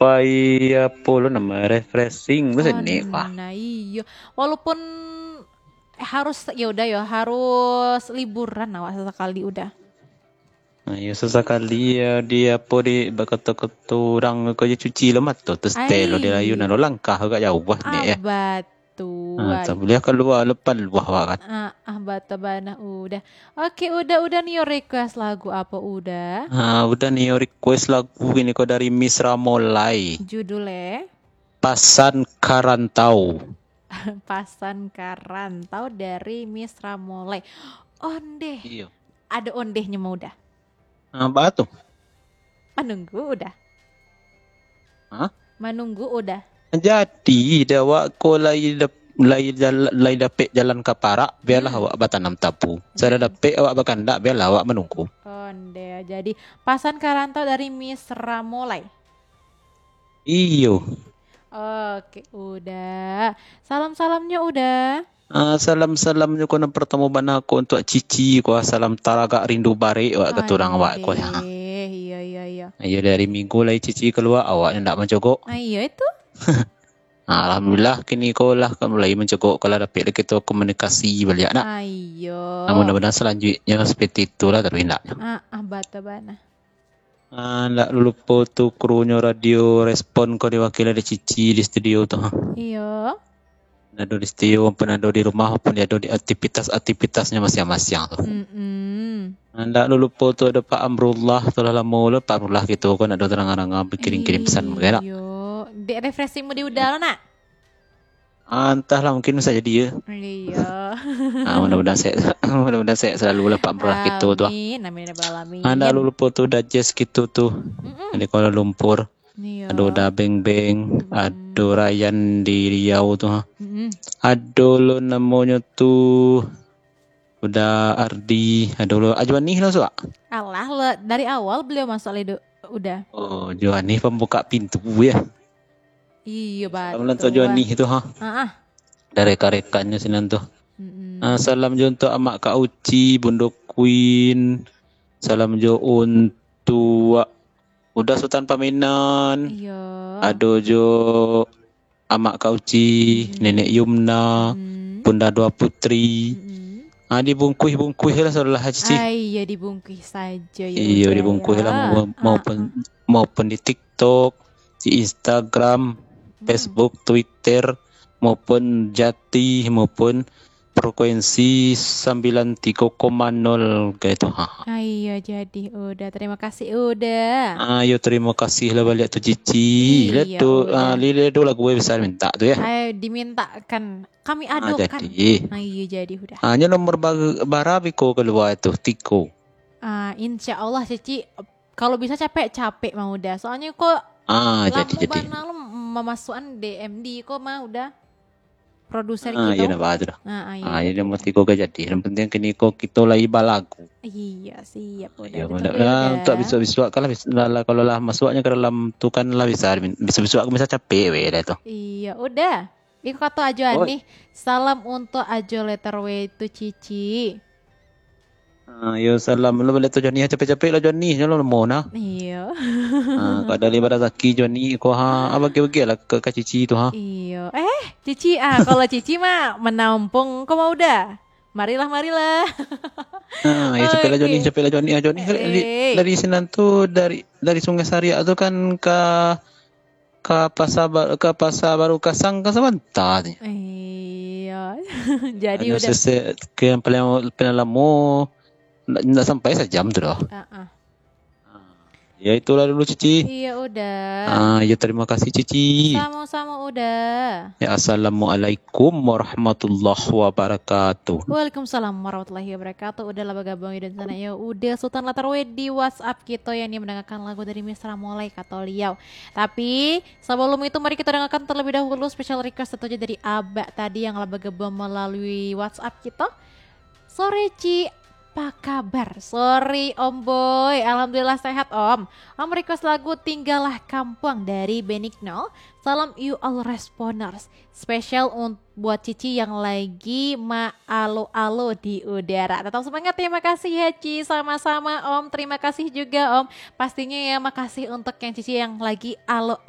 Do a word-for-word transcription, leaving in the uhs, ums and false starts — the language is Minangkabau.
pai apo lo namo, refreshing, tu seni, wah. Nah, iyo. Walaupun harus, ya udah ya, harus liburan awak sasakali udah. Nah, iyo, sasakali ya, di apo, di bakato-kato urang ko, yo cuci lo mato, tu setel lo di rayu, nah, lo langkah agak jauah ni, ya. Ah, batua. Ah, tak buliah kalua lo paluah awak kan. Ah, ah, batua bana udah. Oke, udah, udah nio request lagu apo udah? Ah, udah nio request lagu ini ko dari Miss Ramolai. Judulnya? Pasan Karantau. Pasan Karantau dari Miss Ramolai. Ondeh. Iyo. Ado ondehnyo mah udah. Ah, baa tu? Manunggu udah. Hah? Manunggu udah. Jadi, dah awak ko lai dap-, lai jal-, lai dapek jalan ka parak, bialah awak batanam tabu. Sudah dapek awak bakandak, bialah awak manunggu. Ondeh, jadi pasan karantau dari Miss Ramolai. Iyo. Oke, udah. Salam-salamnyo udah. Ah, salam-salamnyo ko nan partamo bana ko untuak Cici ko, ah, salam taragak rindu barek awak ka turang awak ko, ya. Ondeh, iyo, iyo, iyo. Iyo, dari minggu lai Cici kalua, awak ndak mancogok. Ah, iyo itu. Ah, alhamdulillah, kini ko lah ka mulai mancogok, ko lah dapek lah kito komunikasi baliak, nak. Ah, iyo. Ah, mudah-mudahan salanjuiknyo seperti itulah, tapi ndaknyo. Ah, ah, batua bana. Ah, ndak lulupo tu krunyo Radio Respon ko diwakili dek Cici di studio tu. Iyo. Ado di studio, maupun ado di rumah, maupun ado di aktivitas-aktivitasnyo masiang-masiang tu. Mm-mm. Ah, ndak lulupo tu ado Pak Amrullah, tu lah lamo lo Pak Amrullah kito ko ndak ado tarang-arangan bakirim-kirim pesan, bukan ndak? Iyo. Dek refreshing mudi udah lo, nak? Ah, antahlah, mungkin bisa jadi, ya. Iyo. Ah, mudah-mudahan sehat, mudah-mudahan sehat selalu lah Pak Amrullah kito tu, ah. Amin, amin, ya rabbal alamin. Ah, ndak lulupo tu Dajes kito tu. Mm-mm. Dari Kuala Lumpur. Iyo. Ado Uda Beng Beng, mm-mm, ado Rayan di Riau tu, ha. Mm-mm. Ado lo namonyo tu Uda Ardi, ado lo Ajuanih lo, Suak. Alah, lo dari awal beliau masuk lai, Uda. Oh, Ajuanih pambuka pintu, ya. Iyo, batua. Salam lah untuak Ajuanih tu, ha. Ah, ah. Dari rekan-rekannyo sinan tu. Mm-mm. Ah, salam jo untuak Amak Kak Uci, Bundo Queen. Salam jo untuak Uda Sutan Pamenan. Iyo. Ado jo Amak Kak Uci, mm-mm, Nenek Yumna, mm-mm, Bunda Dua Putri. Mm-mm. Ah, dibungkuih-bungkuih lah, saudara Cici. Ah, iyo, dibungkuih sajo, ya. Iyo, udah, dibungkuih lah, ya. Mau-, ah, maupun, ah, maupun di TikTok, di Instagram, mm-mm, Facebook, Twitter, maupun Jati, maupun frekuensi sambilan tigo koma nol kaitu. Ha. Ah, iyo, jadi Uda. Terima kasih, Uda. Ah, yo, terima kasih lah baliak tu, Cici. Iyo, lah tu, Uda. Ah, li-, li-, ado lagu basa minta tu, ya. Ayo, dimintakan. Kami adokan. Ah, jadi. Ah, iyo, jadi Uda. Ah, nyo nomor bar-, bara biko kalua tu, tigo. Ah, insya Allah, Cici, kalau bisa capek-capek mah Uda. Soalnyo ko, ah, jadi, jadi, lamo bana lo mamasuakan D M D ko mah Uda. Produser kito. Ah, iyo, ndak apa tu dah. Ah, ah, iyo. Ah, iyo, nomor tigo ka jadi. Yang penting kini ko kito lai balagu. Iya, siap. Ah, Uda. Iyo, betul, betul, Uda. Untuak bisuak-bisuak kan lah, bis-, lah, lah, kalau lah masuaknyo ka dalam tu kan lah bisa, bisuak-bisuak kan bisa capek weh dah tu. Iya, Uda. Iko kato Ajo Anih, salam untuak Ajo Letter W tu, Cici. Ah, yo, salam lo baliak tu Joni, capek-capek lah Joni, nyo lo namo nah. Iyo. Ah, kada lima razaki Joni ko ha, ah, bagi-bagi lah ka, ka Cici tu ha. Iyo. Eh, Cici ah, kalau Cici mah menampung ko mah Uda. Marilah, marilah. Ah, yo, capek lah Joni, capek lah Joni, ah, Joni dari, dari sinan tu, dari, dari Sungai Sariak tu kan ka ka Pasa Ba-, ka Pasa Baru Kasang ka sabanta tu. Iyo. Jadi Uda sese-, ke yang paling, paling lamo, ndak, ndak sampai sajam tu doh. Ah, ah. Ya, itulah dulu, Cici. Iya, Uda. Ah, ya, terima kasih, Cici. Sama-sama, Uda. Ya, assalamualaikum warahmatullahi wabarakatuh. Waalaikumsalam warahmatullahi wabarakatuh. Uda lah bagabung di sana ya. Uda Sultan Latarwe di WhatsApp kito yang mendengarkan lagu dari Miss Ramolai, kato liau. Tapi, sebelum itu, mari kita dengarkan terlebih dahulu special request satu aja dari Abak tadi yang lah bergabung melalui WhatsApp kita. Sore, Ci. Apa kabar? Sore, Om Boy. Alhamdulillah sehat, Om. Om request lagu Tinggallah Kampuang dari Benigno. Salam you all responders. Special un-, buat Cici yang lagi ma-alo-alo di udara. Tetap semangat, terima kasih ya, Ci. Sama-sama, Om. Terima kasih juga, Om. Pastinya ya, makasih untuk yang Cici yang lagi alo